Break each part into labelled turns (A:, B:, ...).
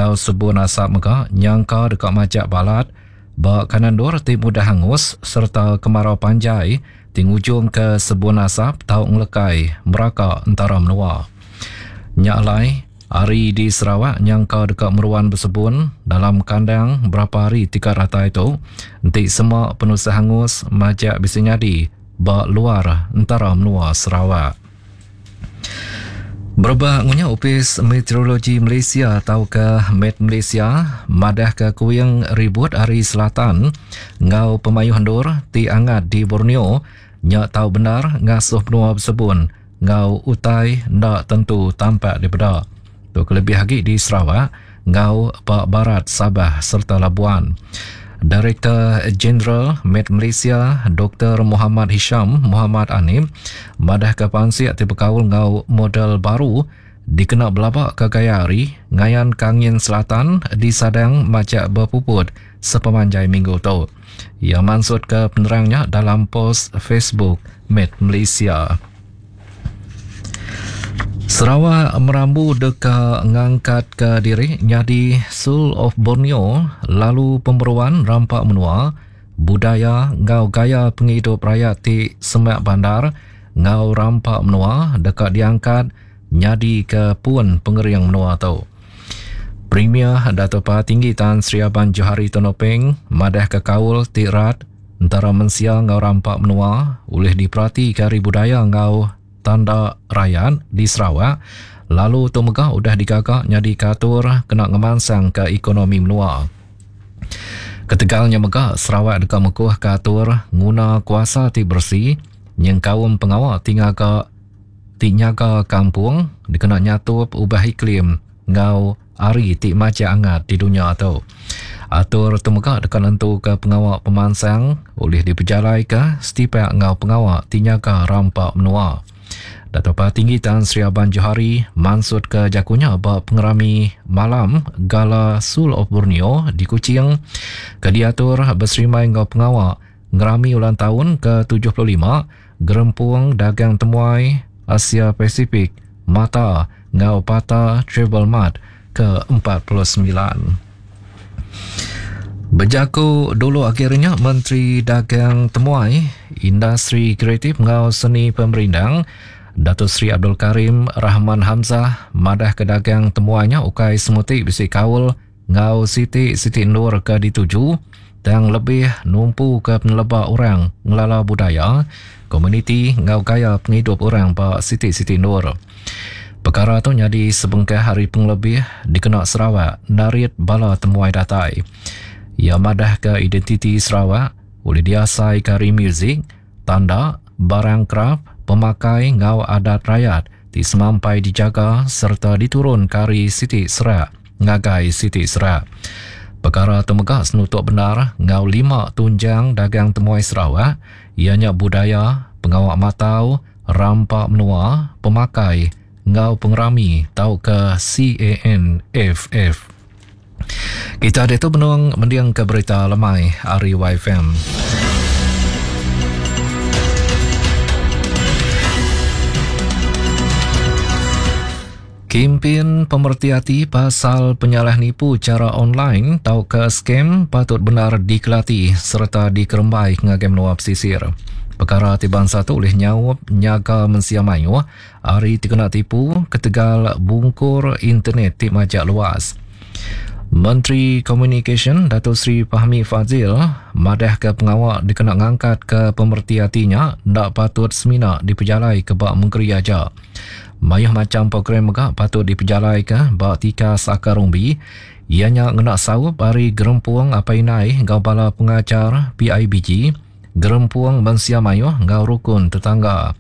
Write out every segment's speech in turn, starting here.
A: enggau sebun asap mega nyangka deka majak balat ba kanan endur ti mudah angus sereta kemarau panjai ti ngujungka sebun asap tau ngelekai meraka entara menua. Nya alai, hari di Sarawak nyangka deka meruan besebun dalam kandang berapa hari ti ka datai tu enti sema penusah angus majak bisi nyadi ba luar entara menua Sarawak. Bereba ngunya Opis Meteorologi Malaysia tauka Met Malaysia madahka kuing ribut ari selatan enggau pemayuh endur ti angat di Borneo nya tau bendar ngasuh menua besebun enggau utai enda tentu tampak dipeda. Tu kelebih agi di Sarawak enggau ba barat Sabah sereta Labuan. Direktor Jeneral Met Malaysia Doktor Muhammad Hisham Muhammad Anip madahka pansik ti bekaul enggau model baru dikena belabaka gaya hari ngayanka angin selatan disadang majak bepuput sepemanjai minggu tu. Iya mansutka penerang nya dalam pos Facebook Met Malaysia. Sarawak merambu deka ngangkatka diri nyadi Soul of Borneo lalu pemeruan rampa menua, budaya enggau gaya pengidup rayat ti semak bandar enggau rampa menua deka diangkat nyadika pun pengering menua tu. Premier Datuk Patinggi Tan Sri Abang Johari Tun Openg madahka kaul ti rat entara mensia enggau rampa menua ulih diperatika ari budaya enggau tanda rayat di Sarawak lalu tu mega udah digaga nyadika atur kena ngemansangka ekonomi menua. Ketegal nya mega Sarawak deka mekuhka atur nguna kuasa ti beresi nyengkaum pengawa ti ngaga ti nyaga kampung dikena nyatup ubah iklim enggau Hari ti majak angat di dunya tu. Atur tu mega deka nentuka pengawa pemansang ulih dipejalaika setipak enggau pengawa ti nyaga rampa menua. Datuk Patinggi Tan Sri Abang Johari mansutka jaku nya ba pengerami malam Gala Soul of Borneo di Kuching ke diatur beserimbai enggau pengawa ngerami ulang taun ke 75 Gerempung Dagang Temuai Asia Pasifik, MATA, enggau PATA Travel Mart ke 49. Bejaku dulu agi ari nya, Menteri Dagang Temuai, Industri Kreatif enggau Seni Pemerindang, Dato Sri Abdul Karim Rahman Hamzah madahka dagang temuai nya ukai semuti bisi kaul enggau siti-siti endur ke dituju tang lebih numpuka peneleba orang ngelala budaya, komuniti enggau gaya pengidup orang ba siti-siti endur. Pekara tu nyadi sebengkah ari pengelebih dikena Sarawak narit bala temuai datai. Iya madahka identiti Sarawak ulih diasaika ari muzik, tanda, barang kraf, pemakai enggau adat rayat ti semampai dijaga sereta diturunka ari siti serak ngagai siti serak. Pekara tu mega senutuk bendar enggau lima tunjang dagang temuai Sarawak iya nya budaya, pengawa matau, rampa menua, pemakai enggau pengerami tauka CANFF. Kita diatu benung mendingka berita lemai ari YFM. Kimpin pemereti ati pasal penyalah nipu chara online tauka scam patut bendar dikelati sereta dikerembai ngagai menua pesisir. Pekara ti bansa tu ulih nyaup nyaga mensia mayuh ari ti kena tipu ketegal bungkur internet ti majak luas. Menteri Komunikasyen Datuk Seri Fahmi Fadzil madahka pengawa dikena ngangkatka pemereti ati nya enda patut semina dipejalaika ba mengeri aja. Mayuh macham program mega patut dipejalaika ba tikas akar umbi iya nya ngena saup ari Gerempung Apai Indai enggau Bala Pengajar PIBG, Gerempung Mensia Mayuh enggau Rukun Tetangga.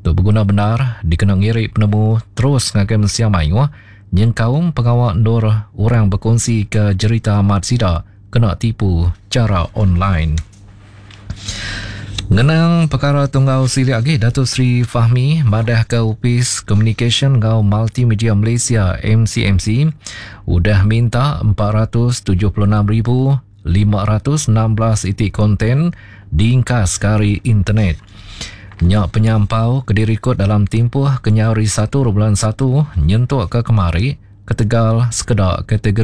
A: Tu beguna bendar dikena ngiri penemu terus ngagai mensia mayuh nyengkaum pengawa endur orang bekunsika jerita amat sida kena tipu chara online. Ngenang pekara tu enggau silik agi, Datuk Seri Fahmi madahka Opis Komunikasyen enggau Multimedia Malaysia, MCMC, udah minta 476,000 516 iti konten diingkaska ari internet. Nya penyampau ke dirikod dalam timpuh kenyau ari satu bulan satu nyentuk ke kemari ketegal sekeda kategori.